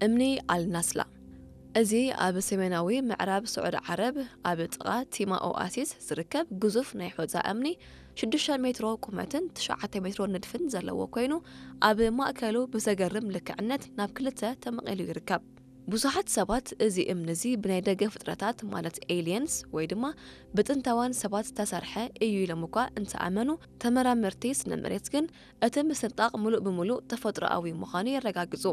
እምኒ ኣልናስላ። እዚ ኣብ ሰሜናዊ ምዕራብ ስዑድ ዓረብ ኣብ ጥቓ ቲማ ኦኣሲስ ዝርከብ ግዙፍ ናይ ሑጻ እምኒ ሽዱሽተ ሜትሮ ቁመትን ትሽዓተ ሜትሮ ንድፍን ዘለዎ ኮይኑ፣ ኣብ ማእከሉ ብዘገርም ልክዕነት ናብ ክልተ ተመቒሉ ይርከብ። ብዙሓት ሰባት እዚ እምኒ እዚ ብናይ ደገ ፍጥረታት ማለት ኤሊየንስ ወይ ድማ ብጥንታውያን ሰባት ዝተሰርሐ እዩ ኢሎም እኳ እንተኣመኑ፣ ተመራመርቲ ስነ መሬት ግን እቲ ምስንጣቕ ምሉእ ብምሉእ ተፈጥሮኣዊ ምዃኑ የረጋግጹ።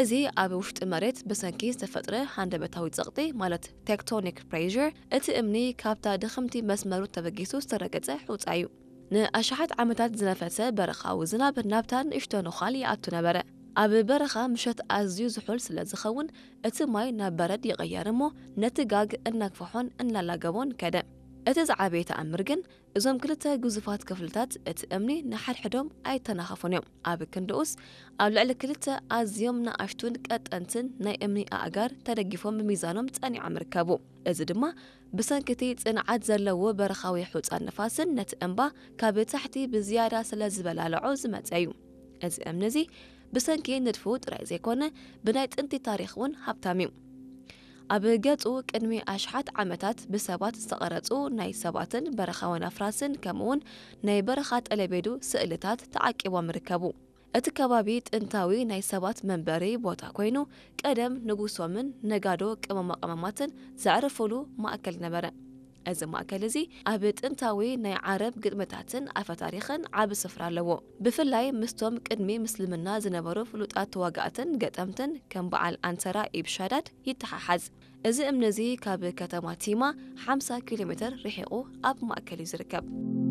እዚ ኣብ ውሽጢ መሬት ብሰንኪ ዝተፈጥረ ሃንደበታዊ ጸቕጢ ማለት ቴክቶኒክ ፕሬር እቲ እምኒ ካብታ ድኽምቲ መስመሩ ተበጊሱ ዝተረገጸ ሑጻ እዩ። ንኣሽሓት ዓመታት ዝነፈሰ በረኻዊ ዝናብ ናብታ ንእሽቶ ነዃል ይኣቱ ነበረ። ኣብ በረኻ ምሸት ኣዝዩ ዝሑል ስለ ዝኸውን እቲ ማይ ናብ በረድ ይቕየር እሞ ነቲ ጋግ እናግፍሖን እናላገቦን ከደ። እቲ ዝዓበየ ተኣምር ግን እዞም ክልተ ግዙፋት ክፍልታት እቲ እምኒ ንሓድሕዶም ኣይተናኸፉን እዮም። ኣብ ክንድኡስ ኣብ ልዕሊ ክልተ ኣዝዮም ንኣሽቱን ቀጠንትን ናይ እምኒ ኣእጋር ተደጊፎም ብሚዛኖም ጸኒዖም ይርከቡ። እዚ ድማ ብሰንኪ እቲ ጽንዓት ዘለዎ በረኻዊ ሑጻን ንፋስን ነቲ እምባ ካብ ታሕቲ ብዝያዳ ስለ ዝበላልዖ ዝመጸ እዩ። እዚ እምኒ እዚ ብሰንኪ ንድፉ ጥራይ ዘይኮነ ብናይ ጥንቲ ታሪኽ እውን ሃብታም እዩ። ኣብ ገጹ ቅድሚ ኣሽሓት ዓመታት ብሰባት ዝተቐረጹ ናይ ሰባትን በረኻውን ኣፍራስን ከምኡውን ናይ በረኻ ጠለቤዱ ስእልታት ተዓቂቦም ይርከቡ። እቲ ከባቢ ጥንታዊ ናይ ሰባት መንበሪ ቦታ ኮይኑ፣ ቀደም ንጉሶምን ነጋዶ ቅመማ ቅመማትን ዘዕርፉሉ ማእከል ነበረ። እዚ ማእከል እዚ ኣብ ጥንታዊ ናይ ዓረብ ግጥምታትን ኣፈ ታሪኽን ዓቢ ስፍራ ኣለዎ። ብፍላይ ምስቶም ቅድሚ ምስልምና ዝነበሩ ፍሉጣት ተዋጋእትን ገጠምትን ከም በዓል ኣንሰራ ኢብ ሻዳድ ይተሓሓዝ። እዚ እምኒ እዚ ካብ ከተማ ቲማ ሓምሳ ኪሎ ሜትር ርሒቑ ኣብ ማእከል እዩ ዝርከብ።